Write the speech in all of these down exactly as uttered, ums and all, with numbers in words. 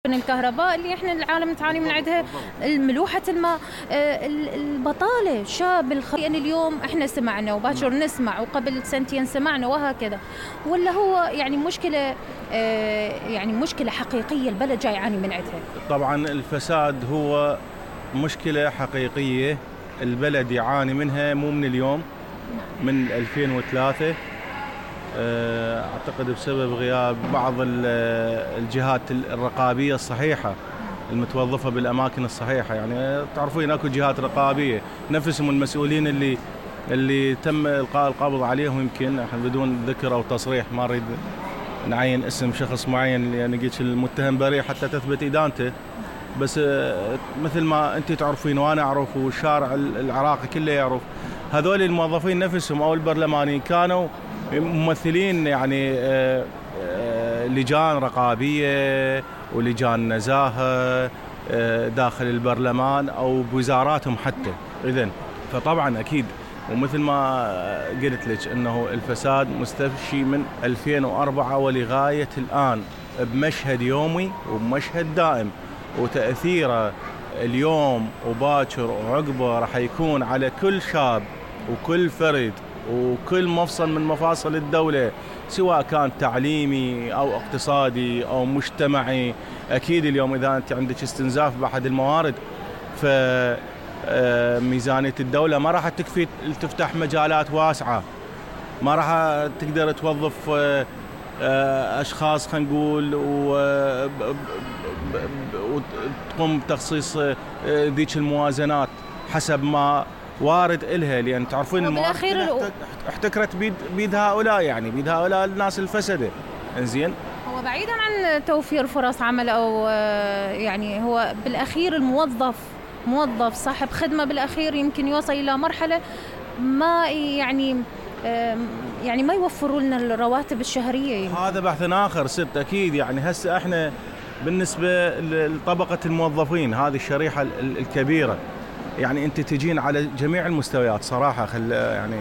من الكهرباء اللي احنا العالم تعاني من عندها، ملوحة الماء، البطالة، شاب الخ... يعني اليوم احنا سمعنا وباكر نسمع وقبل سنتين سمعنا وهكذا، ولا هو يعني مشكلة يعني مشكلة حقيقية البلد جاي يعاني من عندها؟ طبعا الفساد هو مشكلة حقيقية البلد يعاني منها مو من اليوم، من ألفين وثلاثة أعتقد بسبب غياب بعض الجهات الرقابية الصحيحة المتوظفة بالأماكن الصحيحة. يعني تعرفين أكو جهات رقابية نفسهم المسؤولين اللي اللي تم إلقاء القبض عليهم، يمكن بدون ذكر أو تصريح، ما أريد نعين اسم شخص معين يعني قلت المتهم بريء حتى تثبت إدانته، بس مثل ما أنت تعرفين وأنا أعرف والشارع العراقي كله يعرف، هذول الموظفين نفسهم أو البرلمانيين كانوا ممثلين يعني لجان رقابية ولجان نزاهة داخل البرلمان أو بوزاراتهم حتى. إذن فطبعا أكيد، ومثل ما قلت لك أنه الفساد مستفشي من ألفين وأربعة ولغاية الآن بمشهد يومي وبمشهد دائم، وتأثيره اليوم وباكر وعقبه راح يكون على كل شاب وكل فرد وكل مفصل من مفاصل الدولة، سواء كان تعليمي أو اقتصادي أو مجتمعي. أكيد اليوم إذا أنت عندك استنزاف بأحد الموارد فميزانية الدولة ما راح تكفي تفتح مجالات واسعة، ما راح تقدر توظف أشخاص خلينا نقول وتقوم بتخصيص ذيك الموازنات حسب ما وارد إلها، لأن تعرفين الموارد احتكرت بيد بيد هؤلاء، يعني بيد هؤلاء الناس الفسدة. إنزين، هو بعيدا عن توفير فرص عمل أو يعني هو بالأخير الموظف موظف صاحب خدمة بالأخير يمكن يوصل إلى مرحلة ما يعني يعني ما يوفروا لنا الرواتب الشهرية يمكن. هذا بحث آخر ست. أكيد يعني هسه احنا بالنسبة لطبقة الموظفين هذه الشريحة الكبيرة، يعني أنت تجين على جميع المستويات صراحة. خل يعني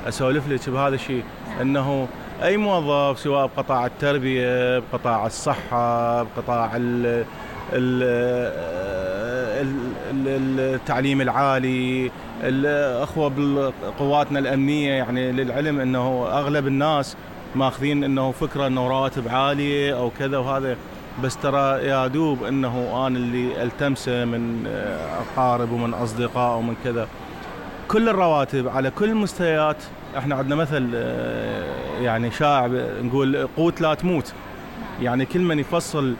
أسولف لك بهذا الشيء، أنه أي موظف سواء بقطاع التربية، بقطاع الصحة، بقطاع ال التعليم العالي، الأخوة بقواتنا الأمنية، يعني للعلم أنه أغلب الناس ماخذين أنه فكرة أنه رواتب عالية أو كذا وهذا، بس ترى يا دوب أنه أنا اللي ألتمسه من أقارب ومن أصدقاء ومن كذا، كل الرواتب على كل المستويات. احنا عندنا مثل يعني شائع نقول قوت لا تموت، يعني كل من يفصل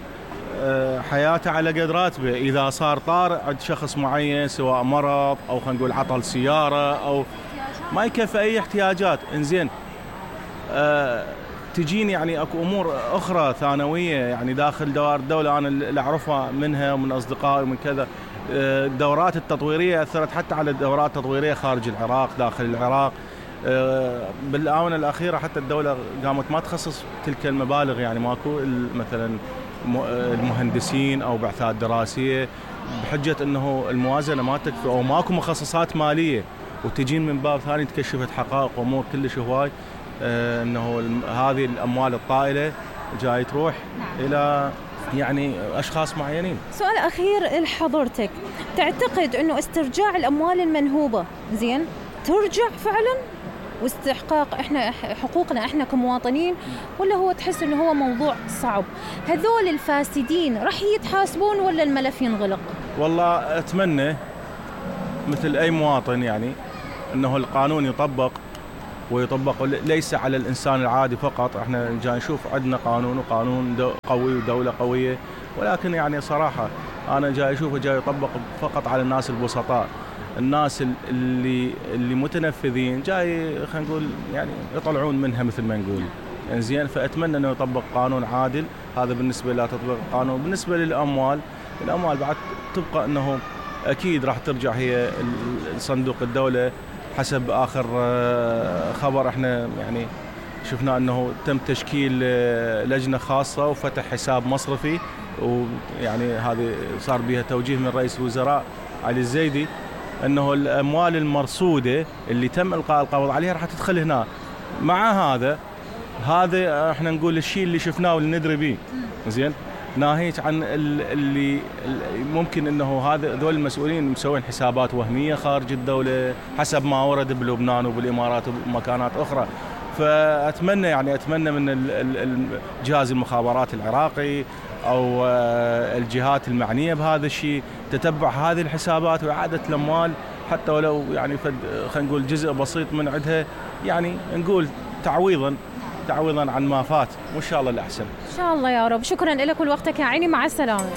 حياته على قد راتبه. إذا صار طارئ عند شخص معين سواء مرض أو خلينا نقول عطل سيارة أو ما يكفي أي احتياجات، إنزين أه تجيني يعني اكو امور اخرى ثانويه يعني داخل دوائر الدوله انا اللي اعرفها منها ومن اصدقائي ومن كذا. الدورات التطويريه اثرت حتى على الدورات التطويريه خارج العراق داخل العراق. بالاونه الاخيره حتى الدوله قامت ما تخصص تلك المبالغ، يعني ماكو مثلا المهندسين او بعثات دراسيه بحجه انه الموازنه ما تكفي او ماكو مخصصات ماليه، وتجين من باب ثاني تكشفت حقائق وامور كلش هواي آه انه هذه الاموال الطائله جاي تروح نعم. الى يعني اشخاص معينين. سؤال اخير لحضرتك، تعتقد انه استرجاع الاموال المنهوبه زين ترجع فعلا واستحقاق احنا حقوقنا احنا كمواطنين، ولا هو تحس انه هو موضوع صعب؟ هذول الفاسدين راح يتحاسبون ولا الملف ينغلق؟ والله اتمنى مثل اي مواطن يعني انه القانون يطبق ويطبق ليس على الإنسان العادي فقط. احنا جاي نشوف عندنا قانون وقانون قوي ودولة قوية، ولكن يعني صراحة أنا جاي أشوفه جاي يطبق فقط على الناس البسطاء، الناس اللي اللي متنفذين جاي خلينا نقول يعني يطلعون منها مثل ما نقول. زين، فأتمنى أنه يطبق قانون عادل. هذا بالنسبة لتطبيق القانون. بالنسبة للأموال، الأموال بعد تبقى أنه أكيد راح ترجع هي صندوق الدولة حسب آخر خبر احنا يعني شفنا أنه تم تشكيل لجنة خاصة وفتح حساب مصرفي، ويعني هذه صار بها توجيه من رئيس الوزراء علي الزيدي أنه الأموال المرصودة اللي تم إلقاء القبض عليها راح تدخل هنا. مع هذا هذا احنا نقول الشيء اللي شفناه واللي ندري به زين ناهيك عن اللي ممكن انه هذا هذول المسؤولين مسوين حسابات وهميه خارج الدوله حسب ما ورد بلبنان وبالامارات ومكانات اخرى. فاتمنى يعني اتمنى من جهاز المخابرات العراقي او الجهات المعنيه بهذا الشيء تتبع هذه الحسابات واعاده الاموال، حتى ولو يعني خلينا نقول جزء بسيط من عندها، يعني نقول تعويضا تعويضا عن ما فات، وان شاء الله الاحسن. ان شاء الله يا رب. شكرا لك ولوقتك يا عيني، مع السلامه.